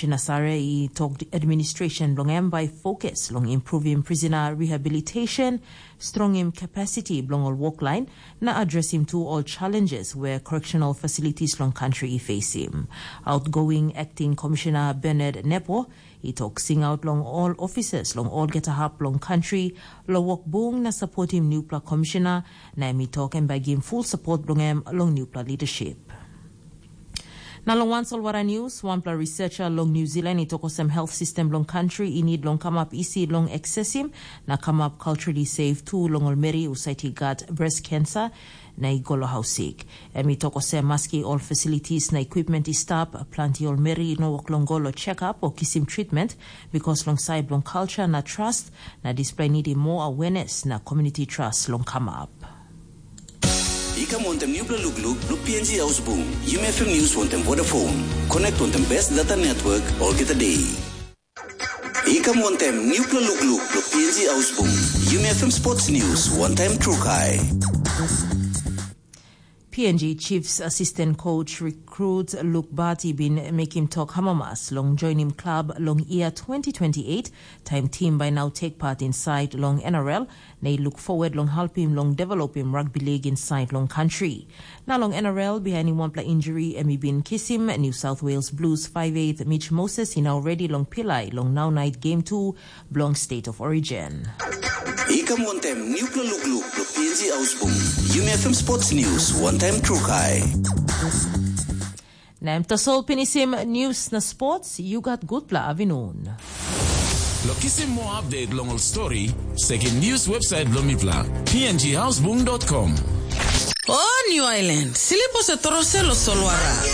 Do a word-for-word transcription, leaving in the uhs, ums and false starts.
Shinasare i tok administration bilong em bai fokus long improvim prisona rehabilitation, strongim capacity bilong ol woklain, na adresim tu ol challenges we correctional facilities long country i facim. Outgoing acting commissioner Bernard Nepo i tok singaut long ol officers long olgeta hap long country, lo wok bung na supportim newpela commissioner, na em i tok em bai givim full support bilong em long newpela leadership. Na long wan solwara news, wanpela researcher long New Zealand i tok olsem health system long country i need long kamap isi long accessim na kamap culturally safe tu long ol meri husat i gat breast cancer na i go long haus sik. Em i tok olsem maski ol facilities na equipment i stap, planti ol meri i no wok long go long check-up o kisim treatment, because long side bilong culture na trust, na display nidim more awareness na community trust long kamap. I kam wantem newpela lukluk bilong P N G Ausbung. Yumi F M News wantem Vodafone. Connect wantem best data network olgeta day. I kam wantem newpela lukluk bilong P N G Ausbung. Yumi F M Sports News wantaim Trukai. P N G Chiefs Assistant Coach Recruit Luke Bati bin mekim tok hamamas long joinim klab long year twenty twenty-eight, taim team by now take part inside long N R L, na i look forward long helpim long developim rugby league inside long country. Na long N R L, bihainim wanpela injury em i bin kisim, New South Wales Blues five eight Mitch Moses i now ready long pilai long now night game two bilong State of Origin. I kam wantem newpela lukluk bilong P N G Ausbung. Yumi F M Sports News wantaim Trukai. Na em tasol pinisim news na sports, you got gutpela avinun. Lo kisim more update long ol story, sekim news website bilong mipela, P N G Ausbung dot com. O New Island, silipo se torose lo solwara.